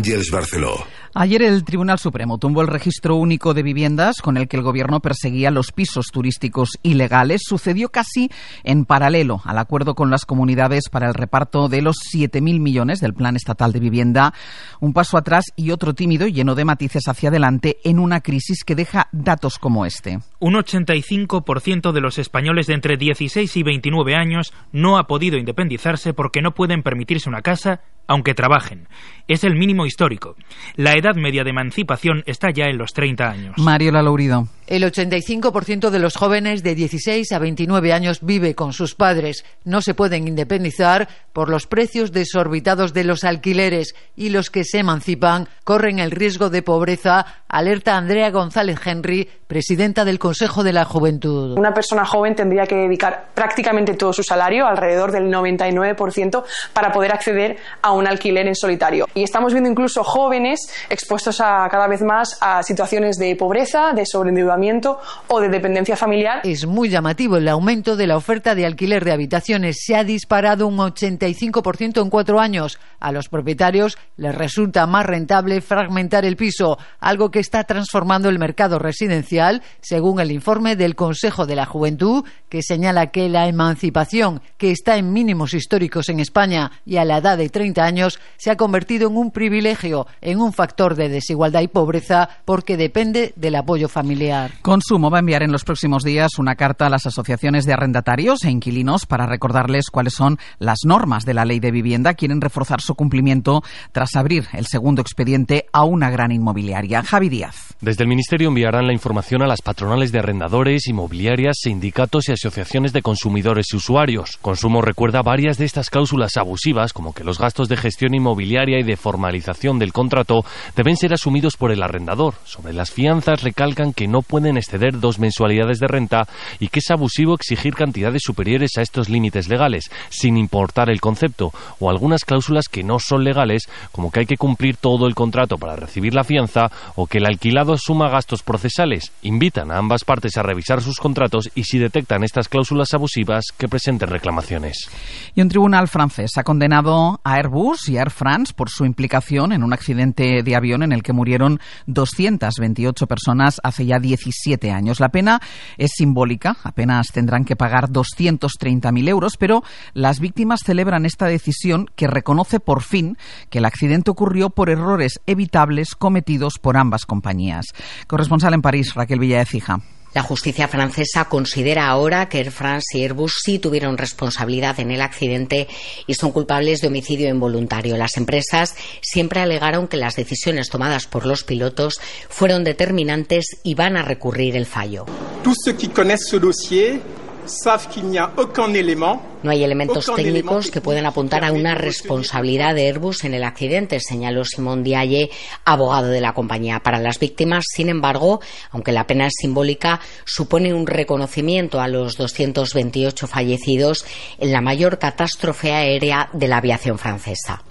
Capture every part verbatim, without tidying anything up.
Àngels Barceló. Ayer el Tribunal Supremo tumbó el registro único de viviendas con el que el gobierno perseguía los pisos turísticos ilegales. Sucedió casi en paralelo al acuerdo con las comunidades para el reparto de los siete mil millones del Plan Estatal de Vivienda. Un paso atrás y otro tímido, lleno de matices hacia adelante, en una crisis que deja datos como este. Un ochenta y cinco por ciento de los españoles de entre dieciséis y veintinueve años no ha podido independizarse porque no pueden permitirse una casa aunque trabajen. Es el mínimo histórico. La edad media de emancipación está ya en los treinta años. Mariola Lourido. El ochenta y cinco por ciento de los jóvenes de dieciséis a veintinueve años vive con sus padres. No se pueden independizar por los precios desorbitados de los alquileres y los que se emancipan corren el riesgo de pobreza, alerta Andrea González Henry, presidenta del Consejo de la Juventud. Una persona joven tendría que dedicar prácticamente todo su salario, alrededor del noventa y nueve por ciento, para poder acceder a un alquiler en solitario. Y estamos viendo incluso jóvenes expuestos a cada vez más a situaciones de pobreza, de sobreendeudamiento o de dependencia familiar. Es muy llamativo el aumento de la oferta de alquiler de habitaciones. Se ha disparado un ochenta y cinco por ciento en cuatro años. A los propietarios les resulta más rentable fragmentar el piso, algo que está transformando el mercado residencial, según el informe del Consejo de la Juventud, que señala que la emancipación, que está en mínimos históricos en España y a la edad de treinta años, se ha convertido en un privilegio, en un factor de desigualdad y pobreza, porque depende del apoyo familiar. Consumo va a enviar en los próximos días una carta a las asociaciones de arrendatarios e inquilinos para recordarles cuáles son las normas de la ley de vivienda. Quieren reforzar su cumplimiento tras abrir el segundo expediente a una gran inmobiliaria. Javi Díaz. Desde el Ministerio enviarán la información a las patronales de arrendadores, inmobiliarias, sindicatos y asociaciones de consumidores y usuarios. Consumo recuerda varias de estas cláusulas abusivas, como que los gastos de gestión inmobiliaria y de formalización del contrato deben ser asumidos por el arrendador. Sobre las fianzas recalcan que no pueden exceder dos mensualidades de renta y que es abusivo exigir cantidades superiores a estos límites legales, sin importar el concepto, o algunas cláusulas que no son legales, como que hay que cumplir todo el contrato para recibir la fianza o que el alquilado asuma gastos procesales. Invitan a ambas partes a revisar sus contratos y, si detectan estas cláusulas abusivas, que presenten reclamaciones. Y un tribunal francés ha condenado a Airbus y a Air France por su implicación en un accidente de avión en el que murieron doscientas veintiocho personas hace ya diecisiete años. La pena es simbólica, apenas tendrán que pagar doscientos treinta mil euros, pero las víctimas celebran esta decisión que reconoce por fin que el accidente ocurrió por errores evitables cometidos por ambas compañías. Corresponsal en París, Raquel Villaecija. La justicia francesa considera ahora que Air France y Airbus sí tuvieron responsabilidad en el accidente y son culpables de homicidio involuntario. Las empresas siempre alegaron que las decisiones tomadas por los pilotos fueron determinantes y van a recurrir el fallo. Tous ceux qui connaissent ce dossier savent qu'il n'y a aucun élément. No hay elementos técnicos que puedan apuntar a una responsabilidad de Airbus en el accidente, señaló Simon Diaye, abogado de la compañía. Para las víctimas, sin embargo, aunque la pena es simbólica, supone un reconocimiento a los doscientos veintiocho fallecidos en la mayor catástrofe aérea de la aviación francesa.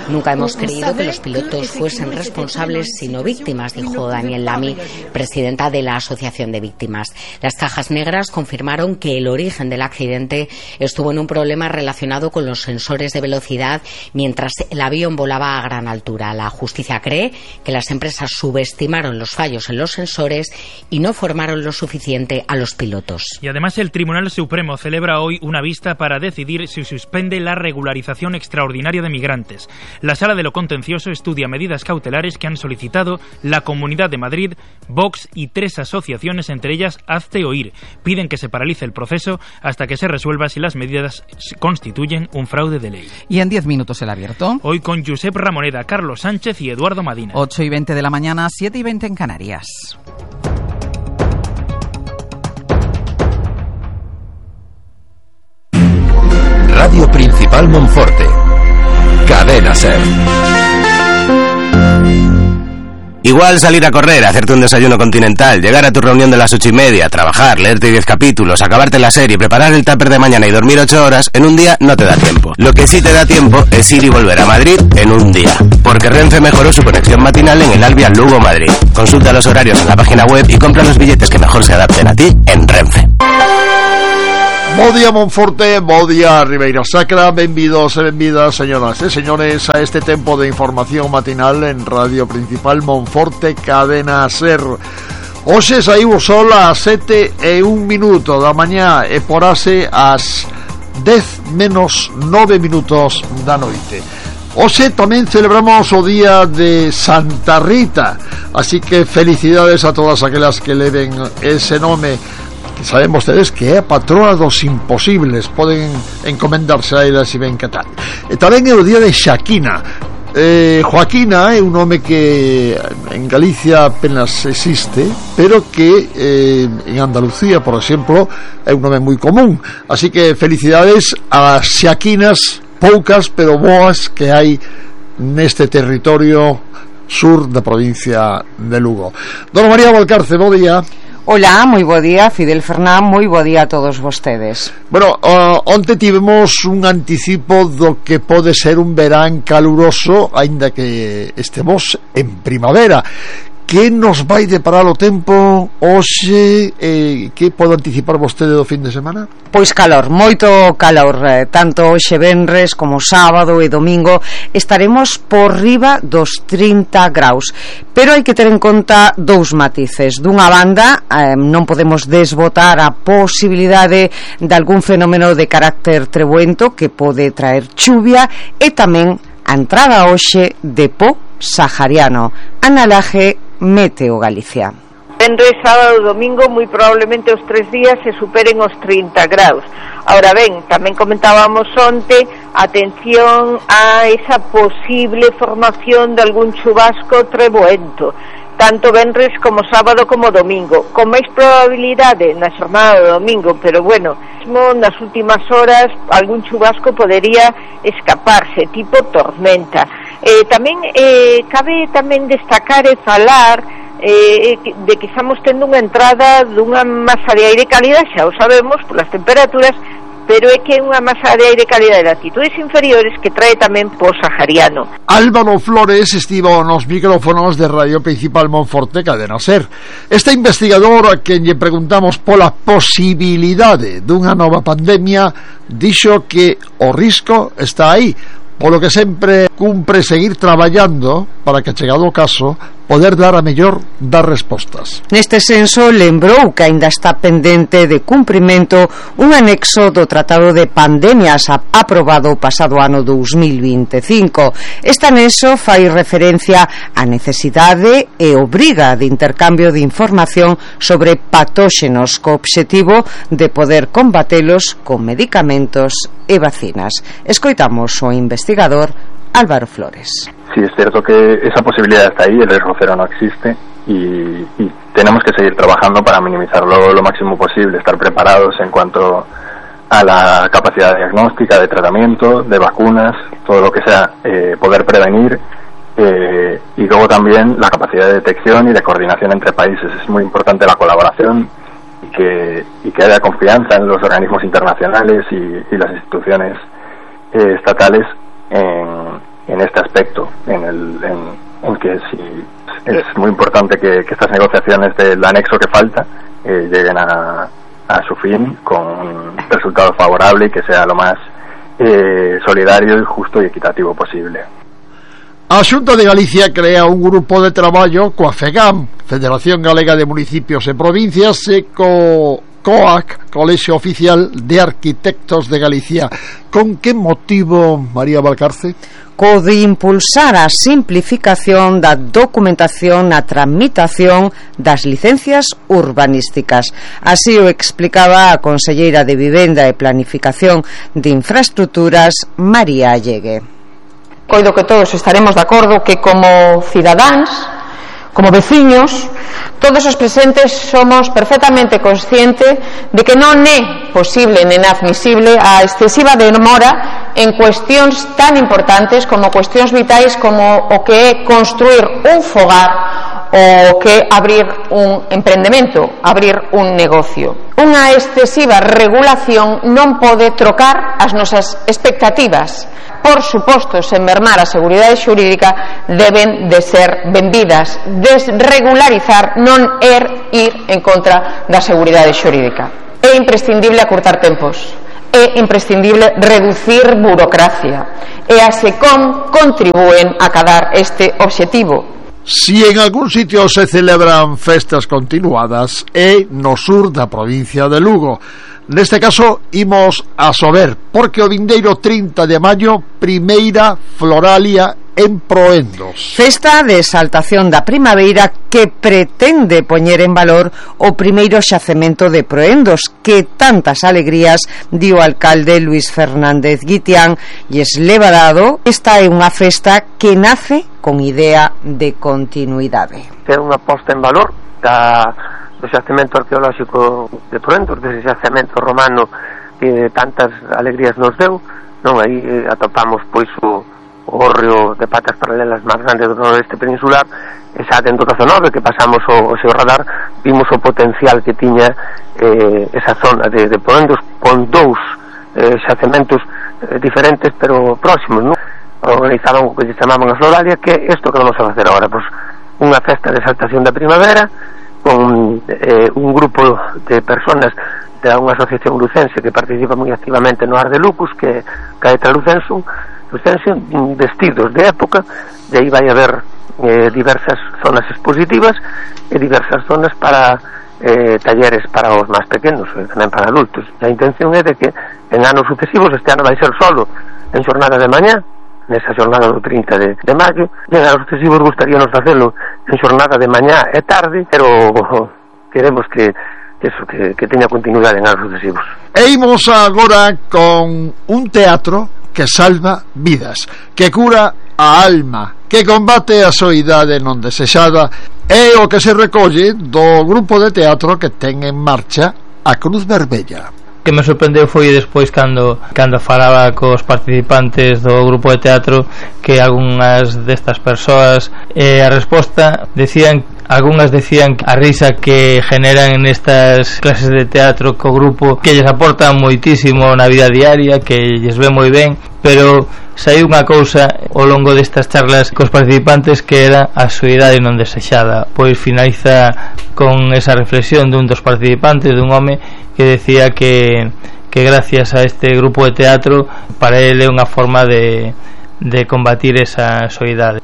Nunca hemos creído que los pilotos fuesen responsables, sino víctimas, dijo Daniel Lamy, presidenta de la Asociación de Víctimas. Las cajas negras confirmaron que el origen del accidente estuvo en un problema relacionado con los sensores de velocidad mientras el avión volaba a gran altura. La justicia cree que las empresas subestimaron los fallos en los sensores y no formaron lo suficiente a los pilotos. Y además el Tribunal Supremo celebra hoy una vista para decidir si suspende la regularización extraordinaria de migrantes. La Sala de lo Contencioso estudia medidas cautelares que han solicitado la Comunidad de Madrid, Vox y tres asociaciones, entre ellas Hazte Oír. Piden que se paralice el proceso hasta que se resuelva si las medidas constituyen un fraude de ley. Y en diez minutos el abierto. Hoy con Josep Ramoneda, Carlos Sánchez y Eduardo Madina. ocho y veinte de la mañana, siete y veinte en Canarias. Radio Principal Monforte. Cadena SER. Igual salir a correr, hacerte un desayuno continental, llegar a tu reunión de las ocho y media, trabajar, leerte diez capítulos, acabarte la serie, preparar el tupper de mañana y dormir ocho horas, en un día no te da tiempo. Lo que sí te da tiempo es ir y volver a Madrid en un día. Porque Renfe mejoró su conexión matinal en el Alvia Lugo Madrid. Consulta los horarios en la página web y compra los billetes que mejor se adapten a ti en Renfe. Bo día Monforte, bo día Ribeira Sacra. Benvidos e benvidas, señoras e señores, a este tempo de información matinal en Radio Principal Monforte, Cadena Ser. Hoxe saiu o sol ás sete e un minuto da mañá e porase ás dez menos nove minutos da noite. Hoxe tamén celebramos o día de Santa Rita, así que felicidades a todas aquelas que leven ese nome, que saben vostedes que é a patrona dos imposibles. Poden encomendarse a ela se ven que tal. E tamén é o día de Xaquina. eh, Joaquina é un nome que en Galicia apenas existe, pero que eh, en Andalucía, por exemplo, é un nome moi común. Así que felicidades a Xaquinas, poucas pero boas, que hai neste territorio sur da provincia de Lugo. Dona María Valcarce, bo día. Hola, moi bo día, Fidel Fernán, moi bo día a todos vostedes. Bueno, uh, onte tivemos un anticipo do que pode ser un verán caluroso, aínda que estemos en primavera. Que nos vai deparar o tempo hoxe? Eh, que pode anticipar vostede do fin de semana? Pois calor, moito calor, eh, tanto hoxe venres como sábado e domingo estaremos por riba dos trinta graus, pero hai que ter en conta dous matices. Dunha banda, eh, non podemos desbotar a posibilidade de algún fenómeno de carácter trebuento que pode traer chuvia, e tamén a entrada hoxe de po sahariano. Ana Laje, Meteo Galicia. Venres, sábado e domingo, moi probablemente os tres días se superen os trinta graus. Ahora ben, tamén comentábamos onte, atención a esa posible formación de algún chubasco treboento, tanto venres como sábado como domingo, con máis probabilidade na xornada do domingo, pero bueno, mesmo nas últimas horas algún chubasco podería escaparse, tipo tormenta. Eh, tamén eh, cabe tamén destacar e falar eh, de que estamos tendo unha entrada dunha masa de aire cálida, xa o sabemos polas temperaturas, pero é que é unha masa de aire cálida de latitudes inferiores que trae tamén po sahariano. Álvaro Flores estivo nos micrófonos de Radio Principal Monforte, Cadena Ser. Este investigador, a quen lle preguntamos pola posibilidade dunha nova pandemia, dixo que o risco está aí, polo que sempre cumpre seguir traballando para que, chegado o caso, poder dar a mellor das respostas. Neste senso, lembrou que aínda está pendente de cumprimento un anexo do Tratado de Pandemias aprobado o pasado ano dous mil vinte e cinco. Este anexo fai referencia á necesidade e obriga de intercambio de información sobre patóxenos co obxectivo de poder combatelos con medicamentos e vacinas. Escoitamos o investigador Álvaro Flores. Sí, es cierto que esa posibilidad está ahí, el riesgo cero no existe y, y tenemos que seguir trabajando para minimizarlo lo máximo posible, estar preparados en cuanto a la capacidad diagnóstica, de tratamiento, de vacunas, todo lo que sea, eh, poder prevenir, eh, y luego también la capacidad de detección y de coordinación entre países. Es muy importante la colaboración y que, y que haya confianza en los organismos internacionales y, y las instituciones eh, estatales en en este aspecto, en el en, en que sí, es muy importante que, que estas negociaciones del anexo que falta eh, lleguen a, a su fin con un resultado favorable y que sea lo más eh, solidario, justo y equitativo posible. A Xunta de Galicia crea un grupo de traballo coa FEGAM, Federación Galega de Municipios e Provincias, e co COAC, Colexio Oficial de Arquitectos de Galicia. Con que motivo, María Valcarce? Co de impulsar a simplificación da documentación na tramitación das licencias urbanísticas. Así o explicaba a conselleira de Vivenda e Planificación de Infraestructuras, María Allegue. Coido que todos estaremos de acordo que como cidadáns, como veciños, todos os presentes somos perfectamente conscientes de que non é posible nen admisible a excesiva demora en cuestións tan importantes como cuestións vitais como o que é construir un fogar ou que abrir un emprendemento, abrir un negocio. Unha excesiva regulación non pode trocar as nosas expectativas. Por suposto, sen mermar a seguridade xurídica, deben de ser vendidas. Desregularizar non é ir en contra da seguridade xurídica. É imprescindible acurtar tempos, é imprescindible reducir burocracia e a SECOM contribúen a acadar este obxectivo. Si en algún sitio se celebran festas continuadas é no sur da provincia de Lugo. Neste caso imos a Sober, porque o vindeiro trinta de maio, primeira floralia en Proendos. Festa de exaltación da primavera que pretende poñer en valor o primeiro xacemento de Proendos, que tantas alegrías dio o alcalde Luis Fernández Guitián, e es levadado. Esta é unha festa que nace con idea de continuidade. É unha posta en valor da do xacemento arqueolóxico de Proendos, dese xacemento romano que tantas alegrías nos deu, non? Aí eh, atopamos pois o, o hórreo de patas paralelas máis grande do noroeste peninsular, e xa dentro do dezanove que pasamos o, o seu radar, vimos o potencial que tiña eh, esa zona de, de Proendos, con dous eh, xacementos eh, diferentes pero próximos, non? Organizaban o que se chamaban a floralia, que é isto que vamos a facer agora, pois unha festa de exaltación da primavera, con eh, un grupo de personas de unha asociación lucense que participa moi activamente no Ar de Lucus, que Caetra Lucenso, Lucense, vestidos de época, e aí vai haber eh, diversas zonas expositivas e diversas zonas para eh, talleres para os máis pequenos e tamén para adultos. A intención é de que en anos sucesivos, este ano vai ser solo en xornada de mañá, nesa xornada do trinta de, de maio, e en anos sucesivos gustaríanos facelo en xornada de mañá e tarde, pero queremos que eso, que, que teña continuidade en anos sucesivos. E imos agora con un teatro que salva vidas, que cura a alma, que combate a soidade non desexada, é o que se recolle do grupo de teatro que ten en marcha a Cruz Vermella. Que me sorprendeu foi despois cando cando falaba cos participantes do grupo de teatro, que algunhas destas persoas eh, a resposta decían, algunhas decían a risa que generan nestas clases de teatro co grupo que lles aporta moitísimo na vida diaria, que lles ve moi ben, pero saiu unha cousa ao longo destas charlas cos participantes que era a soidade non desexada. Pois finaliza con esa reflexión dun dos participantes, dun home que decía que, que gracias a este grupo de teatro para ele é unha forma de, de combatir esa soidade.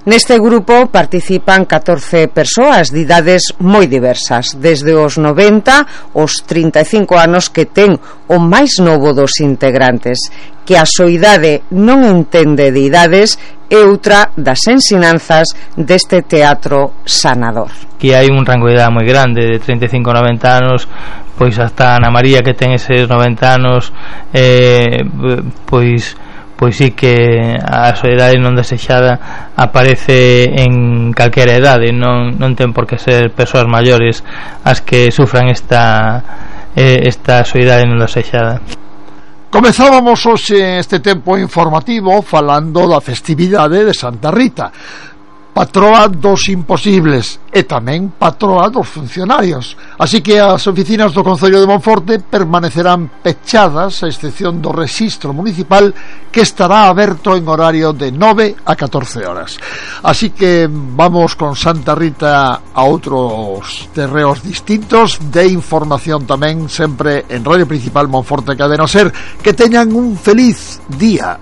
Neste grupo participan catorce persoas de idades moi diversas, desde os noventa aos trinta e cinco anos, que ten o máis novo dos integrantes, que a soidade non entende de idades, é outra das ensinanzas deste teatro sanador. Que hai un rango de idade moi grande, de trinta e cinco a noventa anos, pois hasta Ana María, que ten eses noventa anos, eh, pois pois sí que a soidade non desexada aparece en calquera idade, non, non ten por que ser persoas maiores as que sufran esta, eh, esta soidade non desexada. Comezábamos hoxe este tempo informativo falando da festividade de Santa Rita, patroa dos imposibles e tamén patroa dos funcionarios. Así que as oficinas do Concello de Monforte permanecerán pechadas, a excepción do rexistro municipal, que estará aberto en horario de nove a catorce horas. Así que vamos con Santa Rita a outros terreos distintos de información tamén, sempre en Radio Principal Monforte Cadena Ser. Que teñan un feliz día.